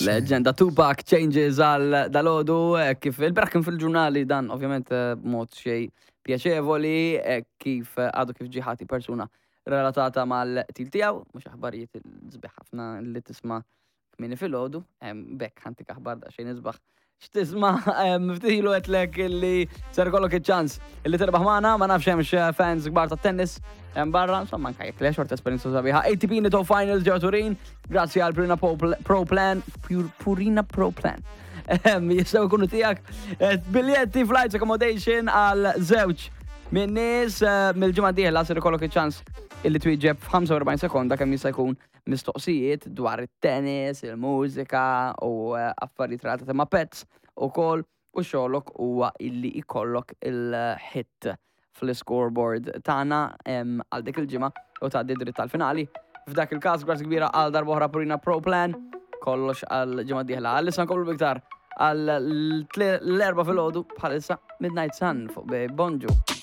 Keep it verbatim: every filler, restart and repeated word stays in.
Leġenda Tupac Changes għal dalgħodu, eh, kif il-bieraħ kien fil-ġurnali dan ovvjament eh, b'mod xej pjaċevoli, eh, kif eh, għadu kif ġiħati persuna relatata mal-qtil tiegħu, mhux aħbarijiet sbieħ ħafna li tisma' kmieni filgħodu, em, bekk ħa ntik aħbar daqsxejn isbaħ. X'tisma' em, ftit ilu għedtlek illi ser ikollok iċ-ċans illi terbaħ magħna, ma nafx hemmx eh, fans kbar ta' tennis hemm barra, insomma anke jekk le xorta esperjenza sabiħa. A T P Nitto Finals ġewwa Turin, grazzi għal Purina Pro Pro Plan, Pur- Purina Pro Plan. Em, Jistgħu jkunu tiegħek eh, biljetti, flights, accommodation għal żewġ minn nies eh, mill-ġimgħa dieħla ser ikollok iċ-ċans illi twieġeb f'ħamsa u erbgħin sekonda kemm jista' jkun mistoqsijiet dwar it-tennis, il-mużika u eh, affarijiet relatati ma' pets ukoll u xogħlok huwa illi ikollok il-hit fl-scoreboard tagħna em, għal dik il-ġimgħa u tgħaddi dritt tal-finali. F'dak il-każ, grazzi kbira għal darb'oħra Purina Pro Plan, kollox għal ġimgħa dieħla. Għalissa nkomplu biktar għal l-erbgħa filgħodu bħalissa Midnight Sun fuq Bonġu.